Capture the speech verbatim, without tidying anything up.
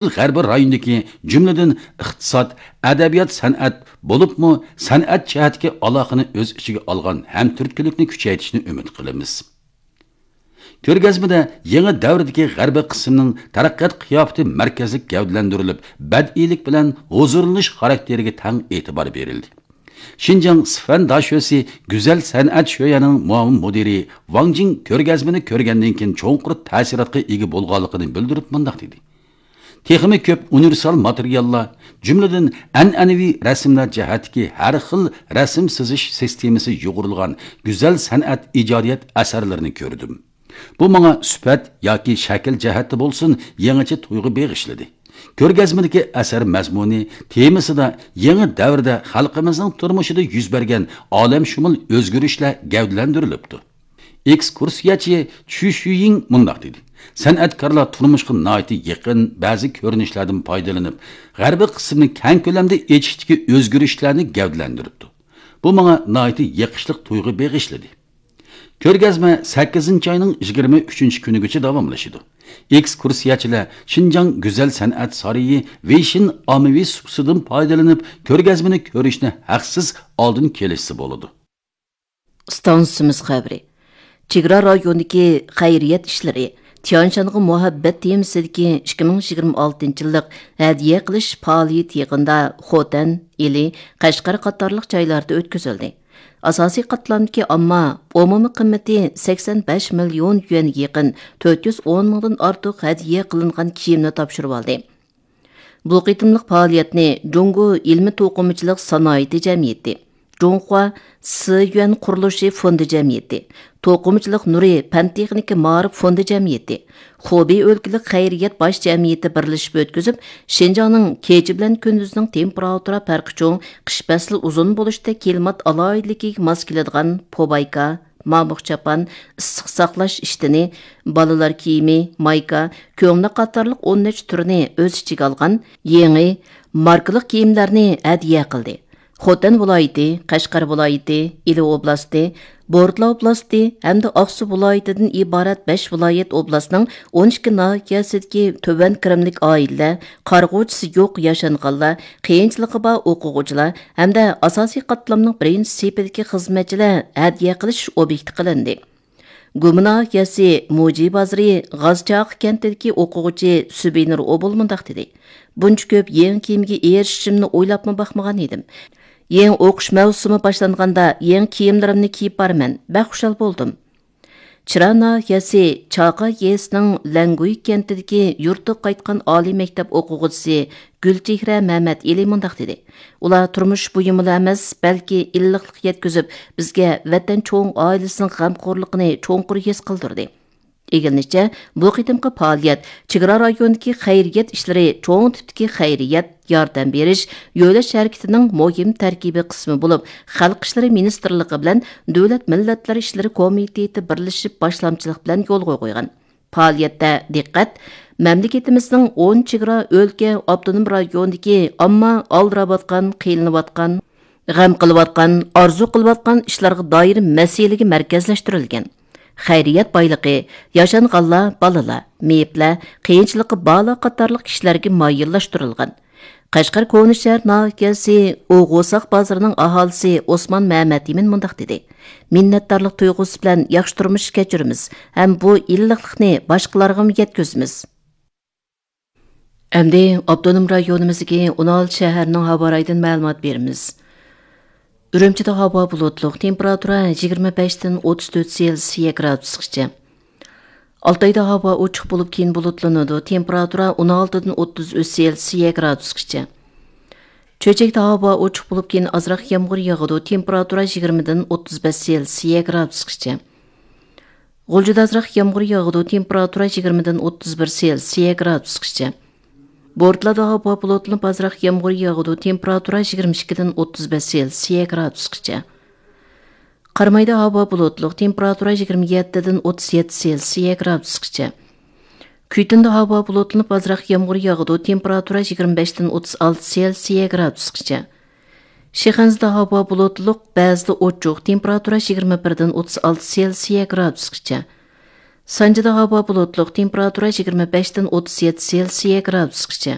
غەربىي رايوندىكى، جۈملىدىن ئىقتىساد، ئەدەبىيات، سەنئەت، بولۇپمۇ سەنئەت جەھەتتىكى ئالاقىنى ئۆز ئىچىگە ئالغان ھەمتۈرتكىلىكنى كۈچەيتىشنى ئۈمىد قىلىمىز. كۆرگەزمىدە يېڭى دەۋردىكى غەربىي قىسىمنىڭ تەرەققىيات قىياپىتى مەركەزلىك گەۋدىلەندۈرۈلۈپ، بەدىئىيلىك بىلەن ھۇزۇرلىنىش خاراكتېرىگە تەڭ ئېتىبار بېرىلدى. شىنجاڭ سىفەن داشۆسى گۈزەل سەنئەت شۆيەنىڭ مۇئاۋىن مۇدىرى ۋاڭ جىڭ كۆرگەزمىنى كۆرگەندىن كېيىن چوڭقۇر تەسىراتقا ئىگە بولغانلىقىنى بىلدۈرۈپ مۇنداق دېدى: تېخىمۇ كۆپ ئۇنىۋېرسال ماتېرىياللار، جۈملىدىن ئەنئەنىۋى رەسىملەر جەھەتتىكى ھەر خىل رەسىم سىزىش سىستېمىسى يۇغۇرۇلغان گۈزەل سەنئەت ئىجادىيەت ئەسەرلىرىنى كۆردۈم. بۇ ماڭا سۈپەت ياكى شەكىل جەھەتتە بولسۇن يېڭىچە تۇيغۇ بېغىشلىدى. كۆرگەزمىدىكى ئەسەر مەزمۇنى، تېمىسىدا يېڭى دەۋردە خەلقىمىزنىڭ تۇرمۇشىدا يۈز بەرگەن ئالەمشۇمۇل ئۆزگىرىشلەر گەۋدىلەندۈرۈلۈپتۇ. ئېكسكۇرسىيەچى چۈ شۈيىڭ مۇنداق دېدى: سەنئەتكارلار تۇرمۇشقا ناھايىتى يېقىن بەزى كۆرۈنۈشلەردىن پايدىلىنىپ، غەربىي قىسىمنى كەڭ كۆلەمدە ئېچىشتىكى ئۆزگىرىشلەرنى گەۋدىلەندۈرۈپتۇ. بۇ ماڭا ناھايىتى يېقىشلىق تۇيغۇ بېغىشلىدى. كۆرگەزمە سەككىزىنچى ئاينىڭ يىگىرمە ئۈچىنچى كۈنىگىچە داۋاملىشىدۇ. ئېكسكۇرسىيەچىلەر شىنجاڭ گۈزەل سەنئەت سارىيى ۋېيشىن ئاممىۋى سۇپىسىدىن پايدىلىنىپ، كۆرگەزمىنى كۆرۈشنى ھەقسىز ئالدىن كېلىشسە بولىدۇ. ئىستانسىمىز خەۋىرى. چېگرا رايونىدىكى خەيرىيەت ئىشلىرى تيەنشانغا مۇھەببەت تېمىسىدىكى ئىككى مىڭ يىگىرمە ئالتىنچى يىللىق ھەدىيە قىلىش پائالىيىتى يېقىندا خوتەن، ئىلى، قەشقەر قاتارلىق جايلاردا ئۆتكۈزۈلدى. ئاساسىي قاتلامدىكى ئامما ئومۇمىي قىممىتى سەكسەن بەش مىليون يۈەنگە يېقىن تۆت يۈز ئون مىڭدىن ئارتۇق ھەدىيە قىلىنغان كىيىمنى تاپشۇرۇۋالدى. بۇ قېتىملىق پائالىيەتنى جۇڭگو ئىلمىي توقۇمىچىلىق سانائىتى جەمئىيىتى، جۇڭخۇا سىيۈەن قۇرۇلۇشى فوندى جەمئىيىتى، توقۇمىچىلىق نۇرى پەن تېخنىكا مائارىپ فوندى جەمئىيىتى، خۇبېي ئۆلكىلىك خەيرىيەت باش جەمئىيىتى بىرلىشىپ ئۆتكۈزۈپ، شىنجاڭنىڭ كېچە بىلەن كۈندۈزنىڭ تېمپېراتۇرا پەرقى چوڭ، قىش پەسلى ئۇزۇن بولۇشتەك كىلىمات ئالاھىدىلىكىگە ماس كېلىدىغان پوبايكا، مامۇق چاپان، ئىسسىق ساقلاش ئىشتىنى، بالىلار كىيىمى، مايكا، كۆڭلەك قاتارلىق ئون نەچچە تۈرنى ئۆز ئىچىگە ئالغان يېڭى ماركىلىق كىيىملەرنى ھەدىيە قىلدى. خوتەن ۋىلايىتى، قەشقەر ۋىلايىتى، ئىلى ئوبلاستى، بورتلا ئوبلاستى ھەمدە ئاقسۇ ۋىلايىتىدىن ئىبارەت بەش ۋىلايەت ئوبلاستنىڭ ئون ئىككى ناھىيەسىدىكى تۆۋەن كىرىملىك ئائىلىلەر، قارىغۇچىسى يوق ياشانغانلار، قىيىنچىلىقى بار ئوقۇغۇچىلار ھەمدە ئاساسىي قاتلامنىڭ بىرىنچى سېپىدىكى خىزمەتچىلەر ھەدىيە قىلىش ئوبيېكتى قىلىندى. گۇما ناھىيەسى موجى بازىرى غازچاقى كەنتىدىكى ئوقۇغۇچى سۈبىنۇر ئوبۇل مۇنداق دېدى: بۇنچە كۆپ يېڭى كىيىمگە ئېرىشىشىمنى ئويلاپمۇ باقمىغان ئىدىم. يېڭى ئوقۇش مەۋسۇمى باشلانغاندا يېڭى كىيىملىرىمنى كىيىپ بارىمەن، بەك خۇشال بولدۇم. چىرا ناھىيەسى چاقا يېزىسىنىڭ لەڭگۇي كەنتىدىكى يۇرتىغا قايتقان ئالىي مەكتەپ ئوقۇغۇچىسى گۈلچېھرە مەمەت ئېلى مۇنداق دېدى: ئۇلار تۇرمۇش بۇيۇمىلا ئەمەس، بەلكى ئىللىقلىق يەتكۈزۈپ، بىزگە ۋەتەن چوڭ ئائىلىسىنىڭ غەمخورلۇقىنى چوڭقۇر ھېس قىلدۇردى. ئىگىلىنىشىچە، بۇ قېتىمقى پائالىيەت چېگرا رايونىدىكى خەيرىيەت ئىشلىرى چوڭ تىپتىكى خەيرىيەت، ياردەم بېرىش، يۆلەش ھەرىكىتىنىڭ مۇھىم تەركىبىي قىسمى بولۇپ، خەلق ئىشلىرى مىنىستىرلىقى بىلەن دۆلەت مىللەتلەر ئىشلىرى كومىتېتى بىرلىشىپ باشلامچىلىق بىلەن يولغا قويغان. پائالىيەتتە دىققەت مەملىكىتىمىزنىڭ ئون چېگرا ئۆلكە، ئاپتونوم رايوندىكى ئامما ئالدىراۋاتقان، قىينىلىۋاتقان، غەم قىلىۋاتقان، ئارزۇ قىلىۋاتقان ئىشلارغا دائىر مەسىلىگە مەركەزلەشتۈرۈلگەن. خەيرىيەت بايلىقى ياشانغانلار، بالىلار، مېيىپلەر، قىيىنچىلىقى بارلار قاتارلىق كىشىلەرگە مايىللاشتۇرۇلغان. قەشقەر كونا شەھەر ناھىيەسى ئوغۇساق بازىرىنىڭ ئاھالىسى ئوسمان مەمەتئىمىن مۇنداق دېدى: مىننەتدارلىق تۇيغۇسى بىلەن ياخشى تۇرمۇش كەچۈرىمىز ھەم بۇ ئىللىقلىقنى باشقىلارغىمۇ يەتكۈزىمىز. ئەمدى ئاپتونوم رايونىمىزدىكى ئون ئالتە شەھەرنىڭ ھاۋا رايىدىن مەلۇمات بېرىمىز. ئۈرۈمچىدە ھاۋا بۇلۇتلۇق، تېمپېراتۇرا يىگىرمە بەشتىن ئوتتۇز تۆت سېلسىيە گرادۇسقىچە. ئالتايدا ھاۋا ئوچۇق بولۇپ، كېيىن بۇلۇتلىنىدۇ، تېمپېراتۇرا ئون ئالتىدىن ئوتتۇز ئۈچ سېلسىيە گرادۇسقىچە. چۆچەكتە ھاۋا ئوچۇق بولۇپ، كېيىن ئازراق يامغۇر ياغىدۇ، تېمپېراتۇرا يىگىرمىدىن ئوتتۇز بەش سېلسىيە گرادۇسقىچە. غۇلجىدا ئازراق يامغۇر ياغىدۇ، تېمپېراتۇرا يىگىرمىدىن ئوتتۇز بىر سېلسىيە گرادۇسقىچە. بورتالادا ھاۋا بۇلۇتلىنىپ، ئازراق يامغۇر ياغىدۇ، تېمپېراتۇرا يىگىرمە ئىككىدىن ئوتتۇز بەش سېلسىيە گرادۇسقىچە. قارامايدا ھاۋا بۇلۇتلۇق، تېمپېراتۇرا يىگىرمە يەتتىدىن ئوتتۇز يەتتە سېلسىيە گرادۇسقىچە. كۈيتۇندا ھاۋا بۇلۇتلىنىپ، ئازراق يامغۇر ياغىدۇ، تېمپېراتۇرا يىگىرمە بەشتىن ئوتتۇز ئالتە سېلسىيە گرادۇسقىچە. شىخەنزىدە ھاۋا بۇلۇتلۇق، بەزىدە ئوچۇق، تېمپېراتۇرا يىگىرمە بىردىن ئوتتۇز ئالتە سېلسىيە گرادۇسقىچە. سانجىدا ھاۋا بۇلۇتلۇق، تېمپېراتۇرا يىگىرمە بەشتىن ئوتتۇز يەتتە سېلسىيە گرادۇسقىچە.